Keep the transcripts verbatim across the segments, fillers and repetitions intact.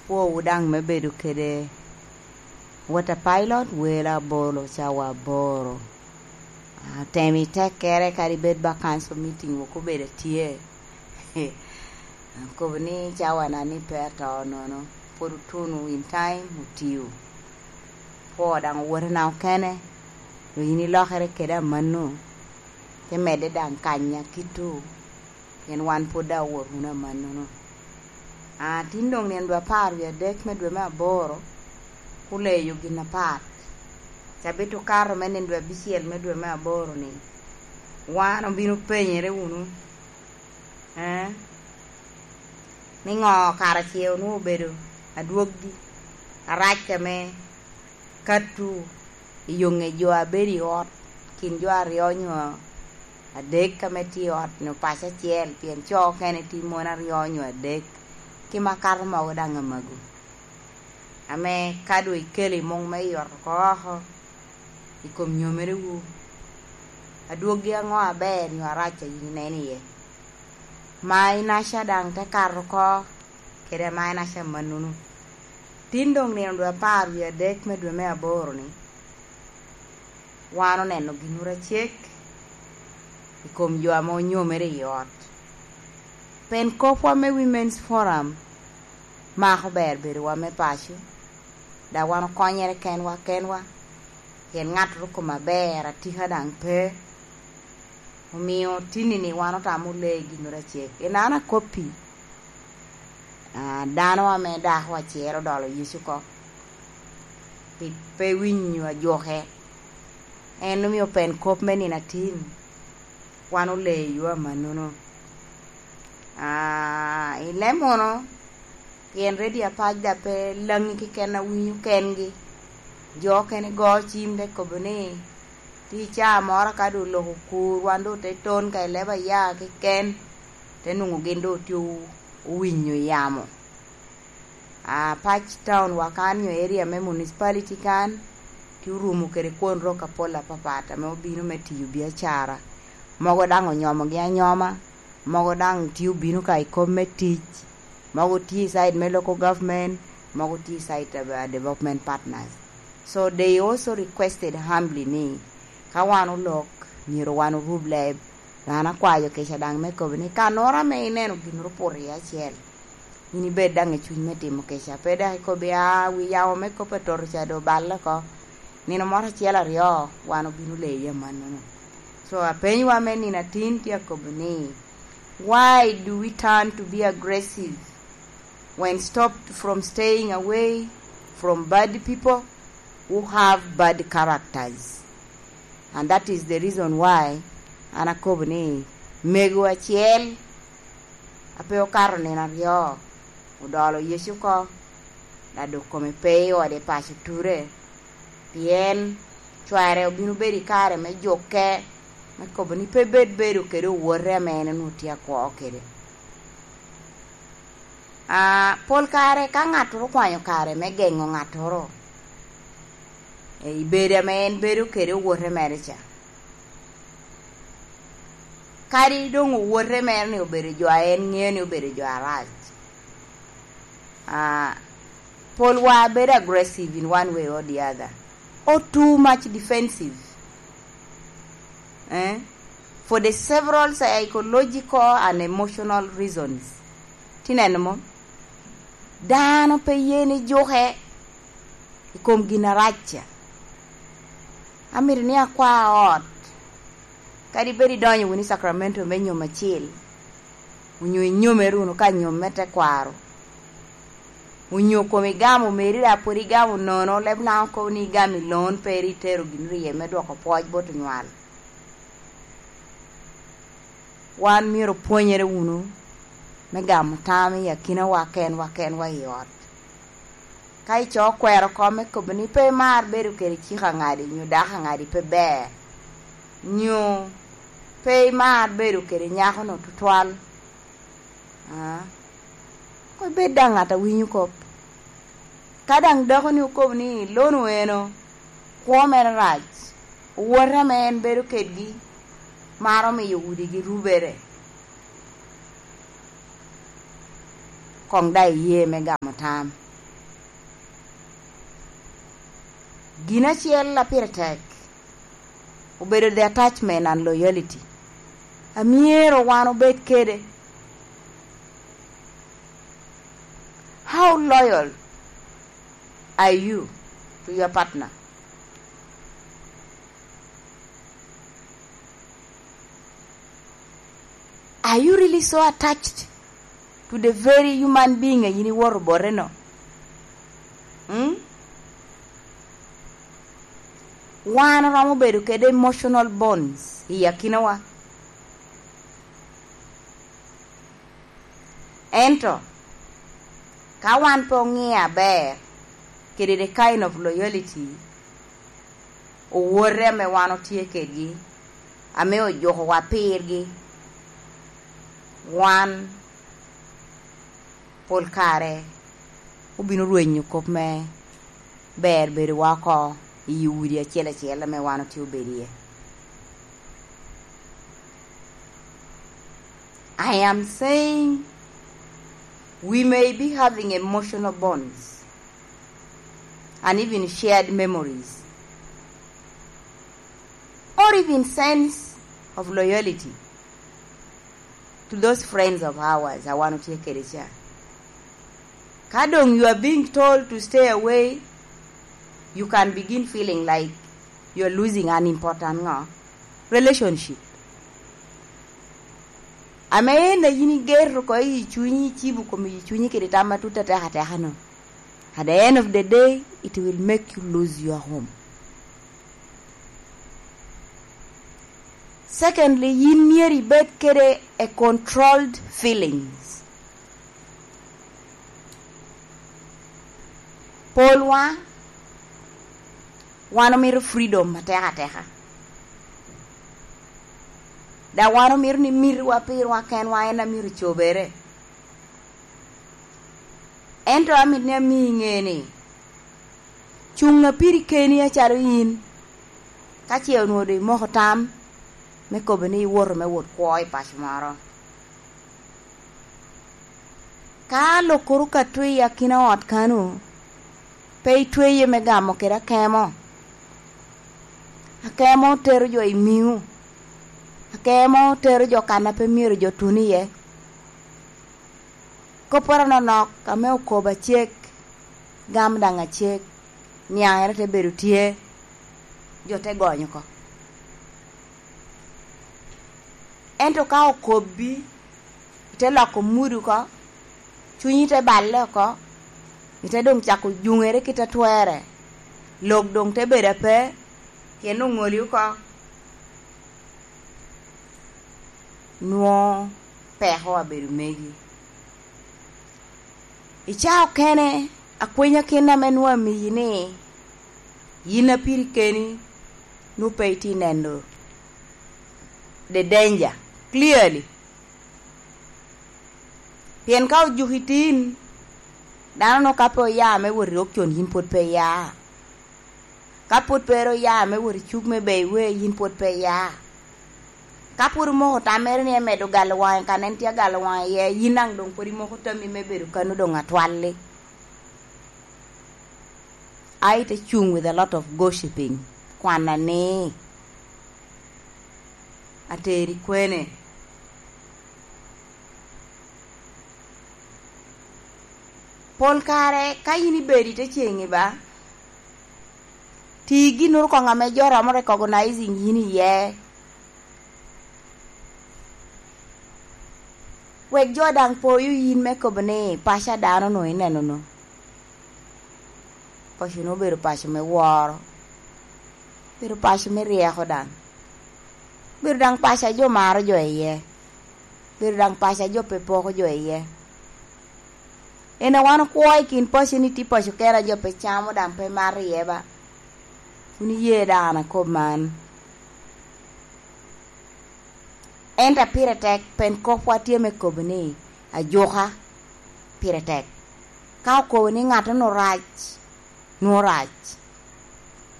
Pwowu daŋ me bedo kede water pilot, welo abolo, cawa aboro. Ah, tem i tekkere, kadi bed ba council meeting wok obedo atye. Akobo ni cawa na ni pe ato nono, pwod otuno in time, otiyo. Pwo daŋ owotena okene, dok in ilokere kede amanno, te medde daŋ kanya kito, pien wan pwod daŋ owot wunu amannono. Ah, tin doŋ nino dwe apar wie adek me dwe me aboro, kuleyo gin apat. Cabit okato me nino dwe abicel me dwe me aboro-ni, wan obino penyere wunu, eh, ni ŋo kara ce onwoŋo obedo adwoggi arac ame katu i yo ŋe jo a bedo i ot, kin jo aryo nyo adek ame tye i ot nyo paco acel, pien co okene tye mon aryo nyo adek, ki makato mogo daŋ amago, ame ka doŋ ikelo i muŋ me yot oko oko i kom nyomerewu, adwoggi aŋo aber nyo arac a yin ineno iye? Ma inaca daŋ te kato oko kede ama inaca mannono. Tin doŋ nino dwe apar wie adek me dwe me aboro-ni, wan oneno ginwu acek i kom jo ame onyomere i ot. Pen kopwa me Women's Forum mako ber bedowa me paco, dok wan okonyere kenwa kenwa, pien ŋattoro kome aber atika daŋ pe. Omio tinni-ni wan otamo le ginoro acel. Pien an akoppi, ah, dano ame dako acel odolo yec oko, pi pe winyo ajuke. En omio pen kop me nino atin, wan oleyo amannono. Ah, i Lemono, pien redio apac daŋ pe laŋi keken a winyo kengi. Jo okene go cim te kobo ni, tye caa moro ka doŋ lok okur, wan doŋ te ton ka i leba ya keken, te nwoŋo gin doŋ tye o-, owinyo yamo. Apac town wa kan nyo area me municipality kan, tye orumo kede kwon rok apol apapat ame obino me tiyo biacara. Mogo daŋ onyomogi anyoma, mogo daŋ tye obino ka i kom me tic, mogo tye i side me local government, mogo tye i side of, uh, development partners. So they also requested humbly ni, ka wan olok, myero wan orub leb. An akwayo kica daŋ me kobo ni, kanoro ame ineno ginoro opoto iye acel, in ibed daŋ i cuny me timo kica. Pe dok ikobo ni, "Ah, wi yamo me kop atoto ca doŋ oballe oko." Nino moro acel aryo, wan obino leyi amannono. So, apenywa me nino atin tye akobo ni, why do we turn to be aggressive when stopped from staying away from bad people who have bad characters? And that is the reason why an akobo ni mego acel a pe okato nino aryo odolo yec oko, dok doŋ kome pe i ode i paco ture, pien cware obino bedo i kare me jukke, me kobo ni pe bed bedo kede owote ame en onwoŋo tye akwo kede. Ah, pol kare ka ŋattoro okwanyo kare me geŋo ŋattoro, eh, i bedo ame en bedo kede owote mere ca, kadi doŋ owote mere ni obedo jo a en ŋeo ni obedo jo arac, ah, pol wa bedo aggressive in one way or the other, or too much defensive, eh, for the several psychological and emotional reasons. Tineno mo? Dano pe ye ni juke i kom gin arac ca. Amito ni akwa ot, kadi bed idonyo wunu i Sacramento me nyom acil, onyo inyomere wunu ka nyom me tekwaro, onyo kom igamo meri dok pwod igamo nono, leb Lango kobo ni igamo i loan, pe ri itero gin rye me dwoko pwoc bot onywal. Wan myero opwonyere wunu me gamo tam i akinawa kenwa kenwa i ot. Ka ico okwero kome kobo ni pe imar bedo kede cik angadi, nyo dako angadi pe ber, nyo pe imar bedo kede nyakono tutwal, ah, koŋ ibed daŋ ŋat a winyo kop. Ka daŋ dakoni okobo ni lono eno, kwo mere rac, owote ame en bedo kedgi maro miyo udigi rubere, koŋ daŋ iye me gamo tam. Gin acel a pire tek obedo the attachment and loyalty a myero wan obed kede. How loyal are you to your partner? Are you really so attached to the very human being a yin iwoto bote-no? Mm? Wan oromo bedo kede emotional bonds i akinawa. Ento, ka wan pe oŋeo aber kede the kind of loyalty, owote ame wan otye kedgi, ame ojukowa pirgi, wan pol kare obino rwenyo kop me ber bedowa oko i udi acel acel ame wan otye obedo iye. I am saying we may be having emotional bonds and even shared memories or even sense of loyalty to those friends of ours a wan otye kede ca. Ka doŋ you are being told to stay away, you can begin feeling like you are losing an important ŋo? Relationship. Ame en a yin igeto oko i cunyi, icibo komi i cunyi kede tam matut atek ateka-no. At the end of the day, it will make you lose your home. Secondly, yin myero ibed kede a controlled feelings. Polwa, wan omito freedom atek ateka. Daŋ wan omito ni mitiwa pirwa kenwa en a myero cobere. Ento amito ni ami iŋe ni, cuŋ a piri keni acalo in, ka ce onwoŋo doŋ imoko tam me kobo ni iwoto me wot kwo i paco moro. Ka lokoro ka twe i akina ot kano, pe itweye me gamo kede akemo. Akemo tero jo i miŋo. Akemo tero jo kan a pe myero jo tun iye. Kopporo anonok ame okobo acek, gam daŋ acek, niaŋere te bedo tye, jo te gonyo oko. Ento ka okobbi, ite loko mudi oko, cunyi te balle oko, ite doŋ cako juŋere kit a twerre, lok doŋ te bedo ape, pien oŋoli oko, nwoŋo peko abedo megi. I caa okene, akwenyakin ame nwoŋo amiyi ni, yin a piri keni, nwoŋo pe itye neno the danger clearly. Pien ka ojuki tin, dano nwoŋo ka pe oya me wot i option, yin pwod pe iya. Ka pwod pe ru oya me wot i cuk me beyo iwe, yin pwod pe iya. Ka pwod omoko tammere ni emedo galo waŋe kan en tye agalo waŋe iye, yin daŋ doŋ pwod imoko tammi me bedo kano doŋ atwalli. A ite cuŋ with a lot of gossiping, kwana ni, ateri kwene? Pol kare ka yin ibedo i te ceŋi ba, ti ginnoro koŋ ame jo romo recognizing yin iye. Wek jo daŋ poyo yin me kobo ni, "Paco a dano-nu ineno-nu." Paco-nu obedo paco me woro, obedo paco me ryeko daŋ, obedo daŋ paco a jo maro jo iye, obedo daŋ paco a jo pe poko jo iye. En a wan okwo i kin paco ni tye paco kene a jo pe camo daŋ pe mato iye ba. Wun iye daŋ an akob man. Ento a pire tek, pen kopwa tye me kobo ni ajuka pire tek. Ka okobo ni ŋattonu rac, nwoŋo rac.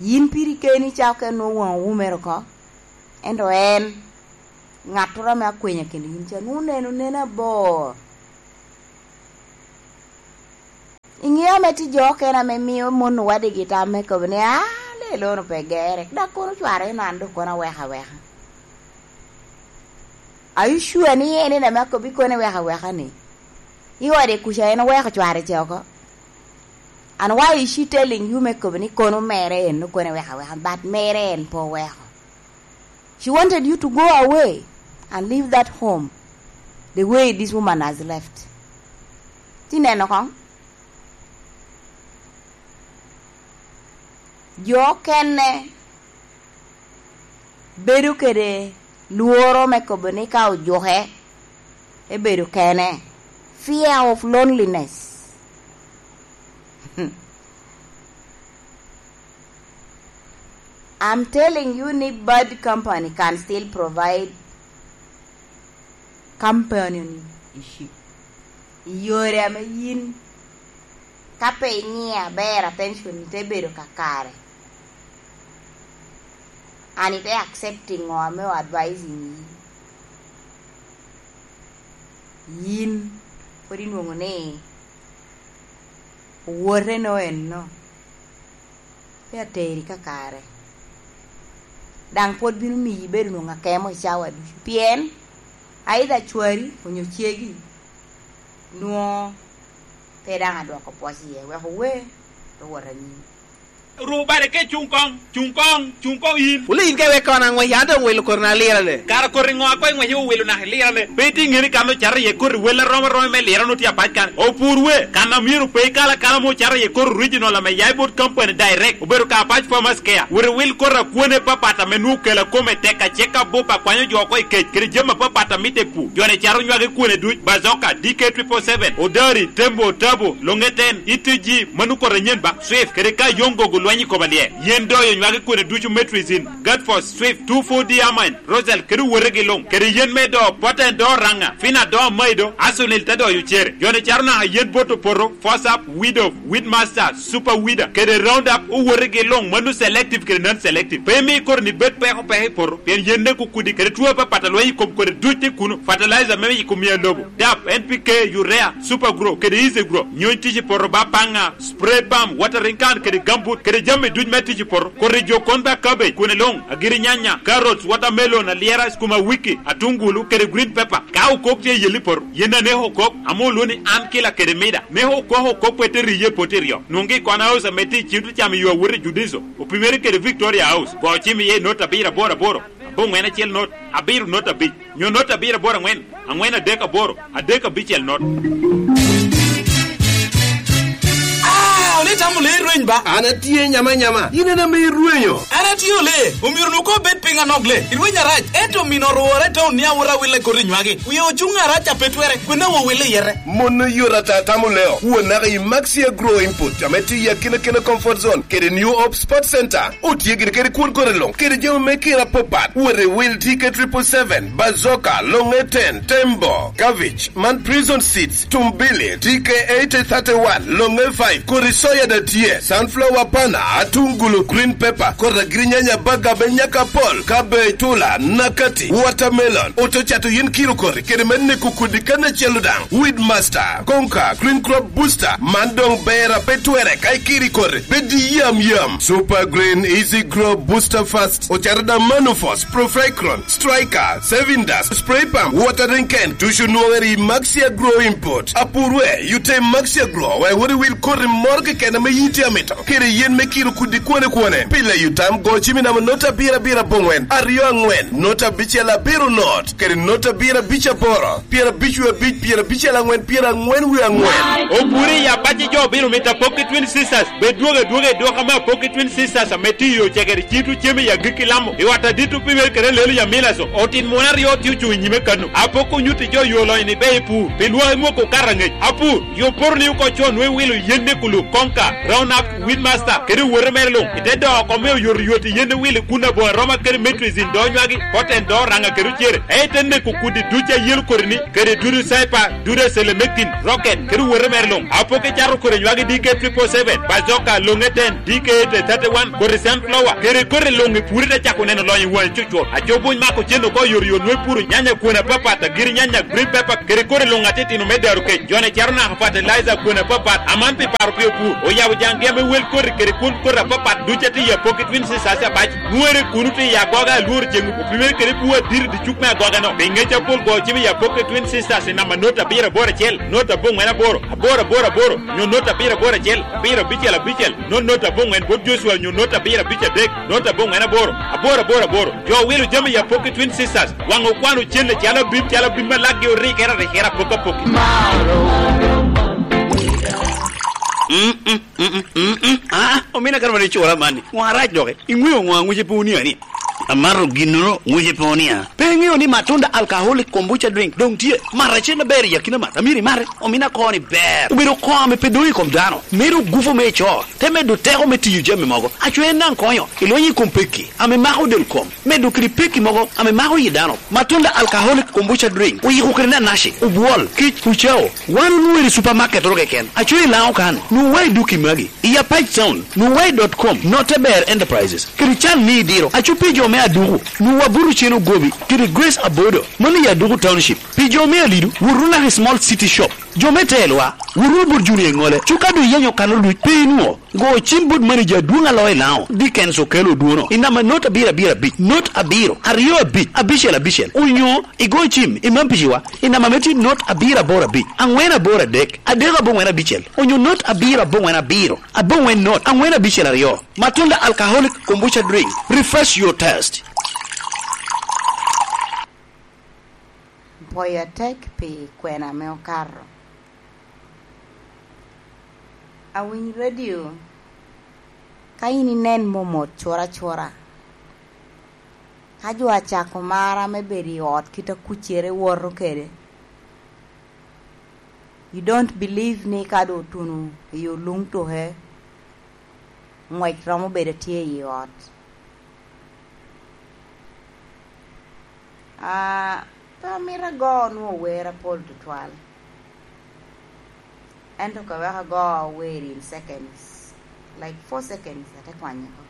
Yin piri keni ca oke nwoŋo waŋ owumere oko, ento en, ŋattoro ame akwenya kede yin ca, nwoŋo neno neno abor. Iŋeo ame tye jo okene ame mio mon owadigi tam me kobo ni, "An Elono pe gere, dok kono cware ni an dok kono aweko aweka. Are you sure ni en en ame akobbi kono iweko aweka ni? I ode kuca en oweko cware ce oko. And why is she telling you me kobo ni kono mere en kono iweko aweka, but mere en pe oweko? She wanted you to go away and leave that home the way this woman has left. Ti neno kong? Jo okene bedo kede lworo me kobo ni ka ojuke, ebedo kene. Fear of loneliness. I'm telling you ni bad company can still provide companion issue. I yore ame yin, ka pe imiyo aber attention, ite bedo kakare. And ite accepting ŋo ame o advising yi. Yin, pwod inwoŋo ni owote no enno. Pe ateri kakare. Daŋ pwod bino miyi bedo nwoŋo akemo i cawa ducu. Pien, either cwari onyo cegi, nwoŋo pe daŋ adwoko pwoc iye, wek owe, pe wot anyim. Ru bade ke cuŋ koŋ, cuŋ koŋ, cuŋ koŋ yin. Wule yin ka iwek kono aŋwec, an doŋ wilo koti na lirane. Kara koti ŋo a koŋ iŋwec iwilo naka ilirane? Pe itye ŋeni kan ocato iye koti wel arom arom me lirane otye apac kan. Opur we, kan a myero pe ikal akala mo ocato iye koti original ame ya i bot company direct, obedo ka Apac Farmers Care. Wot iwil koti akwane papat ame nwoŋo kela kome tek, acek abup akwanyo jo oko i kec, kede jami apapat a mitte i pur. Joni caro nywagi kwene duc, Bazoka, D K triple seven, Odari, Tembo, Tabo, Longeten, E T G, mano koti anyen ba, Swift, kede ka Yongo gulwenyo i koma lye. Yen doyo nywagi kwene ducu, Metrizin, Gatfos, Swift, two four D Amine, Rosal, kede owotegi luŋ, kede yen me do, Poten do Raŋa, Fina do Amaido, Asunil te doyo cere. Joni caro naka yen bot opoto, Fosap, Widow, Weedmaster, Super Weeder, kede Roundup, owotegi luŋ, mano selective kede non-selective. Pe imi koti ni bed peko peko i poto, pien yen ne kukudi, kede two apapat a lweny i kom kodi duc tye kuno, fertilizer me yiko miya lobo, dap, N P K, urea, Super Grow, kede Easy Grow, nyony tic i poto ba paŋa, spray pump, watering can, kede gambut, kede jami duc me tic i poto, koti jo kon ba cabbage, kwene luŋ, agiri nyanya, carrots, watermelon, alyera, sukuma wiki, atungulu, kede green pepper. Ka okok tye i yel i poto, yen aneko okok, ame olwo ni an kila kede mida. Neko okok okok pe te riye poti ryo. Nwoŋgi i Kona House ame tye i Cito Cam i yo awot i Judiso, opimere kede Victoria House. Go cim iye i not abiro aboro aboro, aboŋwen acel not, abiro not abic, nyo not abiro aboro aŋwen, aŋwen adek aboro, adek abicel not. Ah, onitamo le rweny ba? An atye nyama nyama. In en ame irwenyo. An atye ole, omyero nu ko bed piny anok le. Irweny arac, ento mino orwore te onia wora wille koti nywagi. Wie ocuŋ arac a pe twere, kwena wo wille yete. Mon oyot ata tamo leo. Won naka i Maxia Grow Input, ame tye i akina kina Comfort Zone, kede New Hope Sports Center. Otye gire kede kwon kore luŋ, kede jami me kira apapat. Wot i wil T K triple seven, Bazoka, Longe ten, Tembo, Cabbage, man Prison Seeds, Tumbili, T K eighty thirty-one, Longe five, kodi soya da tye, sunflower pana, atungulu, green pepper, kodi agirinyanya, baga me nyaka pol, cabbage, tula, nakati, watermelon, oto cato yin kilo kodi, kede me neko kodi kan acel daŋ. Weedmaster, Konka, Green Crop Booster, man doŋ ber a pe twere ka ikiri kodi, bed yam yam. Super Green Easy Grow Booster Fast, ocaro da Manufos, Profecron, Striker, Saving Dust, Spray Pump, Watering Can, ducu nwoŋere i Maxia Grow Import. Apur we, yute i Maxia Grow, wek wot iwil koti moro keken ame yiti amito, kede yen me kiro kudi kwone kwone. Pile yutam go cimi namo not abiro abiro aboŋwen, aryo aŋwen, not abicel abiro not, kede not abiro abic aboro, pyera abic wie abic, pyera abicel aŋwen, pyera aŋwen wie aŋwen. Oburi i apac i jo obilo mito apok i Twin Sisters. Bed dwogo adwoga i dwoko ame apok i Twin Sisters ame tye i Ocegere, cito cem i agikki Lamo, i ot adit opimere kede lelo i Amilaso. Otin muno aryo tye ocuŋ i nyime kano. Apok onyutti jo yo lonyo ni be i pur, pi lwak i mwoko okato aŋec. Apur, yo poto ni oko con nwe wilo yen ni kulu, Konka, Roundup, Weedmaster, kede owote mere luŋ. Ite doo oko me oyoto yot i yen ni wilo i kun aboŋo aroma kede Metrizin do nywagi, Poten do Raŋa kede ocere. Ei te neko kudi duc a yelo kodi ni, kede dudu Cyper, dudu Selemectin, Rocket, kede owote mere luŋ. Apok icato kodi nywagi D K triple seven, Bazoka, Longe ten, D K eight thirty-one, kodi Sunflower, kede kodi luŋ i puri te cako neno lonyo i wang'i cucur. Aco buny mako cen oko yot yot nwe puro nyanya kwene apapat, agiri nyanya, green pepper, kede kodi luŋ atitino me daro kec. Jone caro naka fertilizer kwene apapat, aman pi paro pio pur. Oyabo jaŋ gem me Wel koti kede kwon koti apapat ducu a tye i Apoki Twin Sisters abac, nwoŋere kuno tye i agoga alworo ceŋ opimere kede bur adit i dicuk me agoga-no. Pi ŋec apol go cim i Apoki Twin Sisters i namba not abiro aboro acel, not aboŋwen aboro, aboro aboro aboro, nyo not abiro aboro acel, abiro abicel abicel, not not aboŋwen bot Joshua nyo not abiro abic adek, not aboŋwen aboro, aboro aboro aboro. Jo wilo jami i Apoki Twin Sisters, waŋ okwano cen calo abim, calo abim ma lakgi orikere arikere apoki apoki. Mm, mm, mm, mm, mm, mm. Ah, omina kare mane icura man-ni. Ŋo arac doki? Iŋweo ŋo a ŋwece pe onia-ni? Amato ginnoro, ŋwece pe onia. Pe iŋeo ni Matunda Alcoholic Kombucha Drink doŋ tye? Mat acel aber i akina mat. Amyero imate. Omina koŋo ni ber. Obedo koŋo ame pe doŋ i kom dano. Medo gufu me ico. Te medo teko me tiyo jami mogo. Aco en daŋ konyo i lweny i kom pekki ame mako del kom, medo kede pekki mogo ame mako yi dano. Matunda Alcoholic Kombucha Drink oyiko kede nanaci, obwol, kic, ucao. Wan onwoŋo i supamaket oro keken. Aco i Laŋo kan, nwoŋo wa i duki magi, i Apac Town, nwoŋo wa i dot com, Note Ber Enterprises, kede can ni idiro. Aco pi jo me Aduku, nwoŋo wa buto cen ogobi, kede Grace Abodo, mano i Aduku Township. Pi jo me Alidu, wotu naka i Small City Shop. Jo me Telwa, wotu bot Junior Ŋole, cuka doŋ iyenyo kano luc, pe inwoŋo. Go cim bot manager adwoŋ a loo i Laŋo, Dickens Okello Odwono, i namba not abiro abiro abic, not abiro, aryo abic, abicel abicel, onyo igo cim i Mampiciwa, i namba me tye not abiro aboro abic, aŋwen aboro adek, adek aboŋwen abicel, onyo not abiro aboŋwen abiro, aboŋwen not, aŋwen abicel aryo. Matunda Alcoholic Kombucha Drink, refresh your taste. Pwoyo atek pi kwena ame okato. Awiny radio ka in inen momot cura cura. Ka jo acako mara me bedo i ot kit a kucere woto kede, you don't believe ni ka doŋ otuno i oluŋ tuke, ŋwec romo bedo tye i ot. Ah, pe amito ago onwoŋo wer apol tutwal. Ento ka wek ago wer in seconds, like four seconds, ate kwanye oko.